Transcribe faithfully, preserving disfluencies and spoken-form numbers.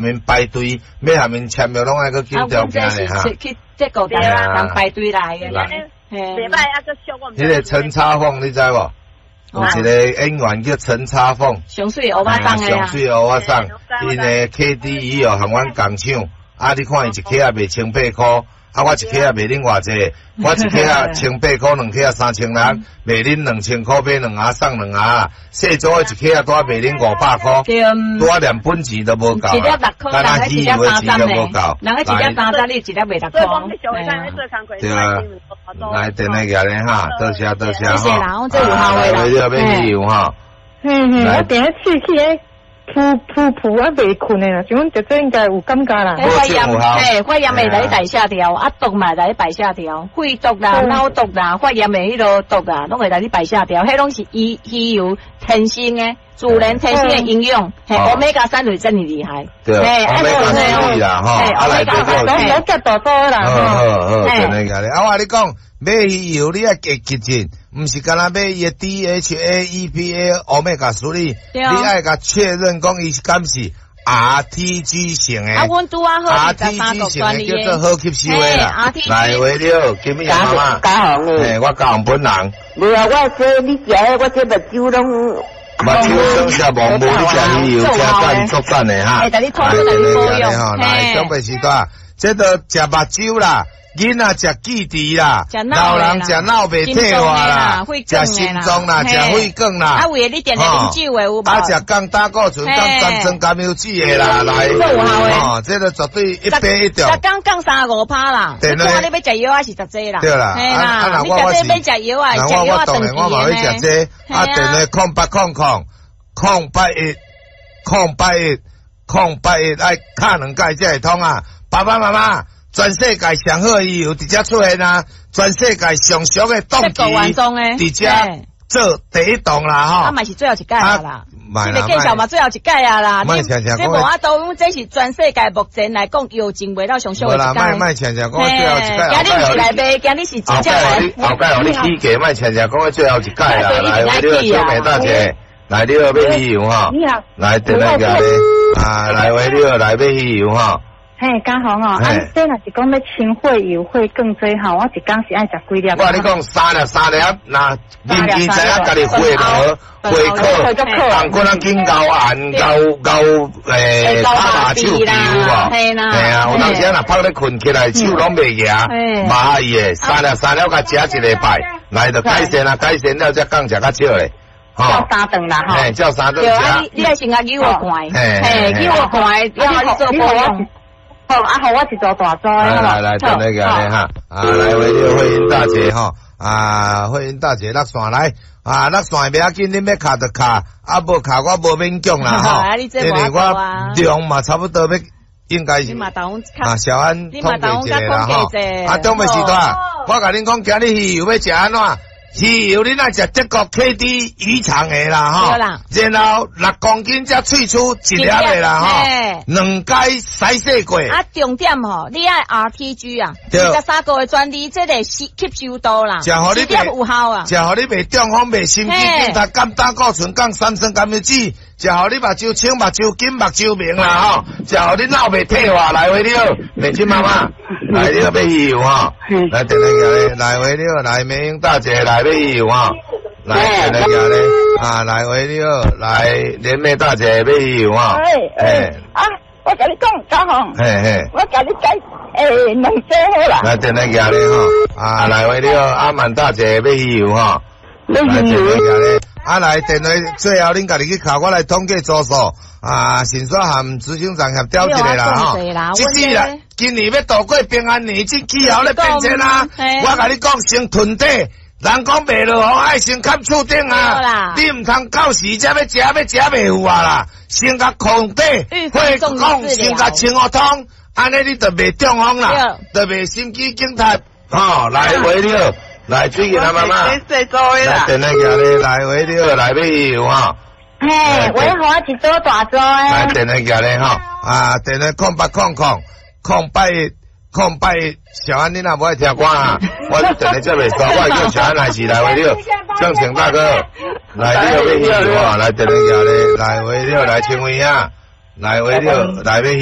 𪜶排隊，欲共𪜶簽約攏愛閣揀條件的哈。去這個人排隊來的。袂歹啊，閣俗我。彼個陳插鳳你知無？有一個演員叫陳插鳳。上媠烏仔送的上媠烏仔送，𪜶的 K D 魚哦，和阮共搶，啊！你看伊一克仔賣千八箍。啊！我一克仔賣恁偌濟？我一克仔千八箍，兩克仔三千六，賣恁兩千箍買兩盒送兩盒。細組的一克仔拄仔賣恁五百箍，拄仔連本錢都無夠。一粒六箍，人一粒三十無夠。人一粒三十，你一粒賣六箍。對啊，來電來舉咧哈，多謝多謝哈。謝謝啦，這有效的啦。來，你欲買魚油哈？嗯嗯，我定試試咧。噗噗噗啊，袂睏的啦，像阮姐姐應該有感覺啦。發炎，嘿，發炎會來代謝掉，啊毒嘛來排泄掉，肺毒啦、腦毒啦、發炎的彼個毒啊，攏會來排泄掉。彼攏是魚魚油天生的，自然天生的營養。嘿，歐米伽三就是真厲害。對，歐米伽三啦，吼，啊來對個，攏攏大多啦。好好好，真的假的？啊，我共你講，買魚油你愛記記住。毋是干焦買伊的 D H A E P A omega three，你愛共確認講伊是敢是 R T G 型的。啊，阮拄仔好 R T G 型的叫做好吸收的啦。來，喂你好，金美媽媽。嘉宏嘿，我嘉宏本人。無啊，我這你食的，我這目睭攏。目睭算食無無，你食魚油，誠讚足讚的哈。來，來，來，長輩時代，這都食目睭啦。囡仔食記憶啦，老人食腦袂退化啦，食心臟啦，食血管啦。啊，為了你定定啉酒的有無？啊，食降膽固醇、降三酸甘油酯的啦，來，哦，這個絕對一百一中。逐工降三五趴啦，你看你欲食藥還是食這啦？對啦，啊，你食這免食藥啊，食藥啊斷我嘛欲食這，啊，電話空八空空空八一空八一空八一，愛敲兩擺才會通啊！爸爸媽媽。全世界上好的魚油佇遮出現啊！全世界上俗的檔期佇遮做第一檔啦吼！啊嘛是最後一屆啦，這個介紹嘛最後一屆啊啦！這無法度，這是全世界目前來講藥證賣到上俗的一屆。無啦，莫莫常常講最後一屆。今日毋是來賣，今日是真正來。後蓋予你起價，莫常常講最後一屆啦！來，你好，小美大姐，來你好，買魚油吼！來，電來舉咧，啊，來喂，你好，來買魚油吼！嘿，嘉宏哦，啊，這若是講欲清血油、血管這吼，我一工是愛食幾粒？我共你講三粒三粒，若啉見知影家己血無血渴，共過人緊熬按熬熬誒打麻手球有無？嘿啊，有當時若拍咧睏起來，手攏袂行，麻伊的三粒三粒，共食一禮拜，來就改善啊，改善了才降食較少咧。照三頓啦，吼，嘿，照三頓對啊，你你愛先共扭個罐，嘿，扭個罐，然後你做保養。好，啊，予我一組大組來來來，等那個哈，啊，來喂，你慧英大姐吼，啊，慧英大姐落線來，啊，落線袂要緊，恁欲敲就敲，啊，無敲我無勉強啦吼，因為我量嘛差不多欲，應該是啊，小安統計一下啦吼，啊，長輩時代，我共恁講，今日魚油欲食按怎？魚油恁愛食德國 K D 魚腸的啦吼，然後六公斤才萃取一粒的啦吼，兩擺篩洗過。啊，重點吼，你愛 R T G 啊，二十三個的專利，這個吸吸收度啦，食予你有效啊，食予你袂中風、袂心肌梗塞、降膽固醇、降三酸甘油酯，食予你目睭清、目睭緊、目睭明啦吼，食予你腦袂退化。來喂你好，美金媽媽，來你好買魚油吼，來電來來喂你好，來美英大姐來買魚油吼，來電來咧，啊來喂你好，來連妹大姐買魚油吼，哎啊，我共你講，嘉宏，嘿嘿，我共你解欸兩組好啦，來電來咧吼，啊來喂你好，阿滿大姐買魚油吼，買魚油。啊，來電話最後恁家己去敲，我來統計組數。啊，先煞和執行長協調一下啦吼。這世人今年欲度過平安年，這氣候咧變遷啊！我共你講，先囤底，人講袂落雨，愛先崁厝頂啊！你毋通到時才欲食，欲食袂有啊啦！先共空底，或講先共清予通，按呢你就袂中風啦，就袂心肌梗塞。吼，來喂你好。來，水吉他媽媽，來電來舉咧，來喂你好，來買魚油吼。嘿，我予我一組大組的。來電來舉咧吼，啊，電話空八空空空八一空八一，小安你若無愛聽歌啊？我電話接袂煞，我會叫小安來是來喂你好，正成大哥，來你好買魚油吼，來電來舉咧，來喂你好，來清偉啊，來為了來欲魚。